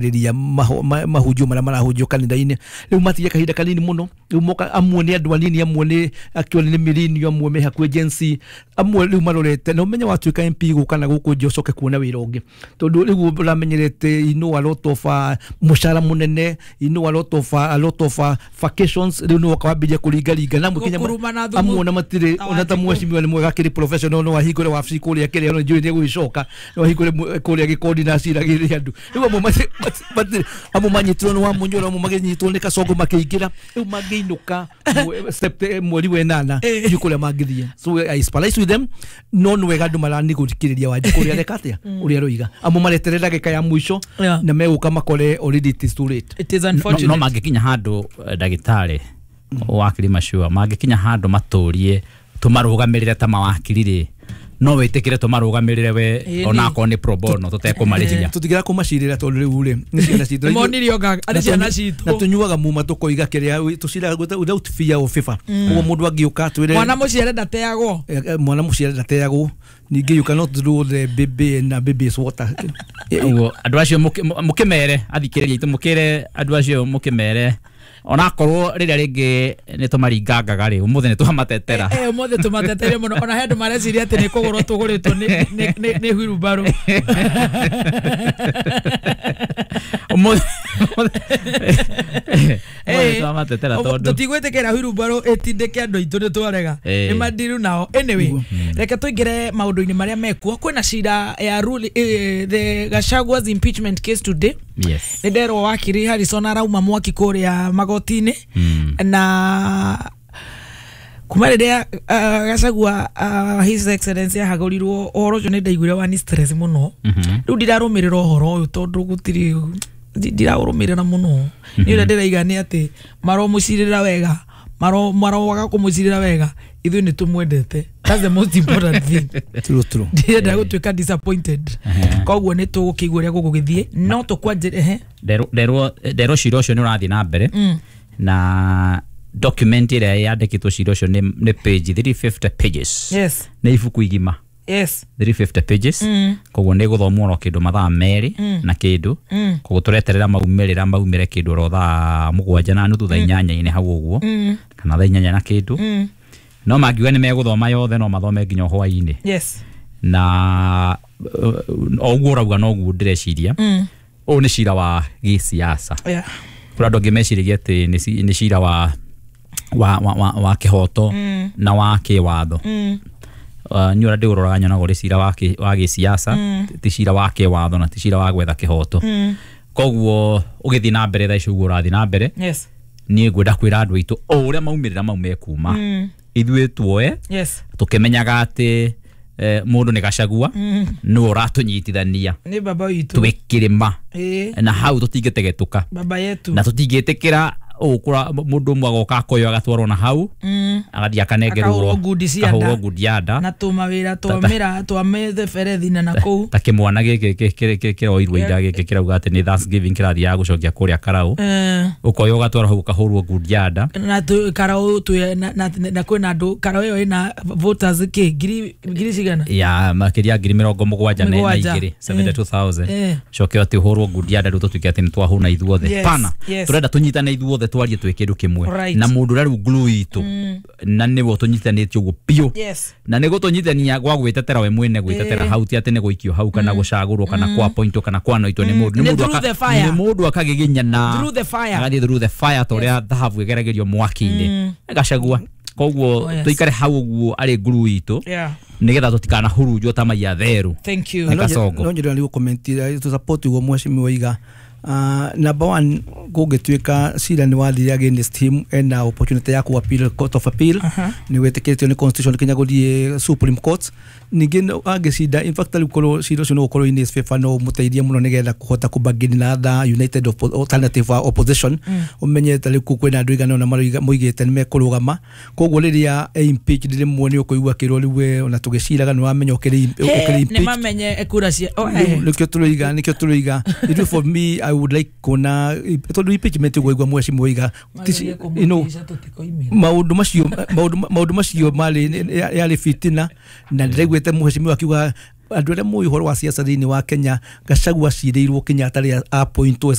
Rĩrĩa mahunjio marĩa marahunjio kanitha-inĩ rĩu matigia kahinda kanini mũno. Rĩu moka amwe nĩ andũ anini, amwe nĩ actually nĩ millennial, amwe me hakuhĩ Gen Z, amwe rĩu marorete na ũmenye watuĩka MP gũka na gũkũ nja ũcoke kuona wĩra ũngĩ, tondũ rĩu ũramenyerete a lot of mũcara mũnene, a lot of vacations. Rĩu nĩ woka wambĩrĩria kũringaringa na mũkinya amwe ona matirĩ ona ta mheshimiwa nĩ mwega akĩrĩ professional, no ahingũre wabici kũrĩa kĩrĩa no njũĩ nĩ egũgĩcoka, no ahingũre kũrĩa gĩkondi na aciragĩre andũ. Rĩu amwe amwe manyitirwo nĩ Wamunyoro, amwe magĩnyitwo nĩ Kasongo makĩingĩra, rĩu mangĩinũka mweri wa ĩnana ndiũ kũrĩa mangĩthiĩ. So I sympathize with them, no nĩ wega andũ maranigũthikĩrĩria Wanjikũ ũrĩa areka atĩa, ũrĩa aroiga. Amwe mareterera ndagĩka ya mũico na megũka makore already it is too late. It is unfortunate. No mangĩkinya handũ ndagĩtarĩ wakiri Machua mangĩkinya handũ matũrie tũmarũgamĩrĩre ta mawakiri rĩ, no wĩtĩkĩre tũmarũgamĩrĩre we onakorwo nĩ pro bono tũtekũmarĩhia, tũtigĩra kũmacirĩra tondũ rĩu rĩ nĩ ciana citũ monirio arĩ ciana citũ na tũnyuaga muma tũkoiga kĩrĩa tũciraga without fear of favor. Koguo mũndũ angĩũka twĩre mwana mũciare ndateagwo, mwana mũciare ndateagwo. Ningĩ you cannot draw the baby na baby's water. Ũguo andũ acio mũkĩmere athikĩrĩria itũ, mũkĩre andũ acio mũkĩmere onakorwo rĩrĩa rĩngĩ nĩ tũmaringangaga rĩ, ũmũthĩ nĩ twamatetera. Ũmũthĩ tũmatetere mũno, ona he andũ mareciria atĩ nĩ kũgũrwo tũgũrĩtwo nĩ wheelbarrow. Ũmũthĩ twamatetera tondũ tũtigwĩtĩkĩra wheelbarrow ĩtindĩke andũ aitũ, nĩ twarega nĩ mandiru nao. Anyway, reke tũingĩre maũndũ-inĩ marĩa mekuo. Kwĩna cira ya the Gachagua's impeachment case today. Yes. Nĩ nderwo wakiri Harrison arauma mwaki kũrĩa magoti-inĩ na kuma rĩrĩa Gachagua His Excellency ahagũrirwo ũhoro ũcio nĩ ndaiguire wani stress mũno. Rĩu ndirarũmĩrĩra ũhoro ũyũ tondũ gũtirĩ ndiraũrũmĩrĩra mũno. Nĩ ũrĩa ndĩraiga nĩ atĩ maromũcirĩra wega, maroaga kũmũcirĩra wega, ithuĩ nĩ tũmwendete. That's the most important thing. True, true. Ndirenda gũtuĩka disappointed. Koguo nĩ tũgũkĩigua ũrĩa gũgũgĩthiĩ, no tũkwanjĩre nderwo cira ũcio nĩ ũrathiĩ na mbere na document ĩrĩa yandĩkĩtwo cira ũcio nĩ page 350 pages. Yes. Nĩ ibuku igima. Yes. 350 pages. Koguo nĩ gũthomwo oro kĩndũ mathaa merĩ na kĩndũ. Koguo tũreterera maumĩrĩra maumĩre kĩndũ oro thaa 7:30 thaa 8 hau ũguo kana thaa 8 na kĩndũ. No mangiuga nĩ megũthoma yothe no mathome nginya hwaĩ-inĩ. Yes. Na o ũguo ũrauga noguo ndĩreciria. Ũyũ nĩ cira wa gĩsiasa. Yeah. Kũrĩ andũ angĩ meciragia atĩ nĩ cira wa kĩhoto na wa kĩwatho. Niĩ ũrĩa ndĩũroraga nyonaga ũrĩ cira wa gĩsiasa, ti cira wa kĩwatho na ti cira wa gwetha kĩhoto. Koguo ũgĩthiĩ na mbere thaa ici ũguo ũrathiĩ na mbere, niĩ ngwenda kwĩra andũ aitũ o ũrĩa maumĩrĩra mau mekuma, ithuĩ tuoe tũkĩmenyaga atĩ mũndũ nĩ Gachagua nĩwe ũratũnyitithania nĩ baba witũ twĩ kĩrĩma na hau tũtingĩtegetũka baba yetu na tũtingĩtĩkĩra ũkũra mũndũ ũmwe agoka akoywo agatwarwo na hau agathiĩ akanengerwo akahũrwo ngundi ya nda na tũmawĩra twamĩra twamĩtheberethi na kũu ta kĩmwana gĩkĩ kĩroirwo ira gĩkĩ kĩrauga atĩ nĩ Thanksgiving kĩrathiaga gũcokia kũrĩa Karau, ũkoywo ũgatwarwo hau ũkahũrwo ngundi ya nda na Karau na kwĩna andũ Karau ĩyo ĩna voters kĩ ngiri cigana ya makĩria 72,000 72,000 coke atĩ ũhũrwo ngundi ya nda rĩu tũtuĩke atĩ nĩ twahũna ithuothe. Pana tũrenda tũnyitane ithuothe twarie twĩ kĩndũ kĩmwe na mũndũ ũrĩa rĩu glue itũ na nĩwe ũtũnyitanĩtie ũguo biũ na nĩ gũtũnyitania gwa gwĩtetera we mwene gwĩtetera hau ti atĩ nĩ gũikio hau kana gũcagũrwo kana kwa-appointwo kana kwanoitwo nĩ mũndũ nĩ mũndũ akagiginyana agathiĩ through the fire ta ũrĩa thahabu ĩgeragĩrio mwaki-inĩ Gachagua. Koguo tũikare hau ũguo arĩ glue itũ nĩgetha tũtikanahurunjwo ta mai atheru. Thank you. Nĩ Kasongo. No nyende nĩ gũcomment to support ũguo mheshimiwa oiga. Number one, kũngĩtuĩka cira nĩ wathire against him ena opportunity ya ku appeal court of appeal, nĩ wĩtĩkĩrĩtio nĩ constitution kinya gũthiĩ Supreme Court. Ningĩ angĩcinda, in fact rĩu korwo cira ũcio no ũkorwo in his favor no ũmũteithie mũno nĩgetha kũhota kũbargain na other united alternative opposition. Ũmenye ta rĩu kwĩna andũ aigana ũna moigĩte nĩ mekũrũgama, koguo rĩrĩa impeached rĩmwe nĩ ũkũigua akĩrwo rĩu we ona tũgĩciraga nĩ wamenya ũkĩrĩ impeached nĩ mamenye kura cia nĩkĩo tũroiga nĩkĩo tũroiga. Ithuĩ for me I would like kuona tondũ impeachment ũguo mheshimiwa oiga maũndũ macio marĩ yarĩ fitina na ndĩraiguĩte mheshimiwa akiuga Andũ arĩa moĩ ũhoro wa siasa thĩinĩ wa Kenya, Gachagua acirĩirwo Kenyatta rĩrĩa appointwo.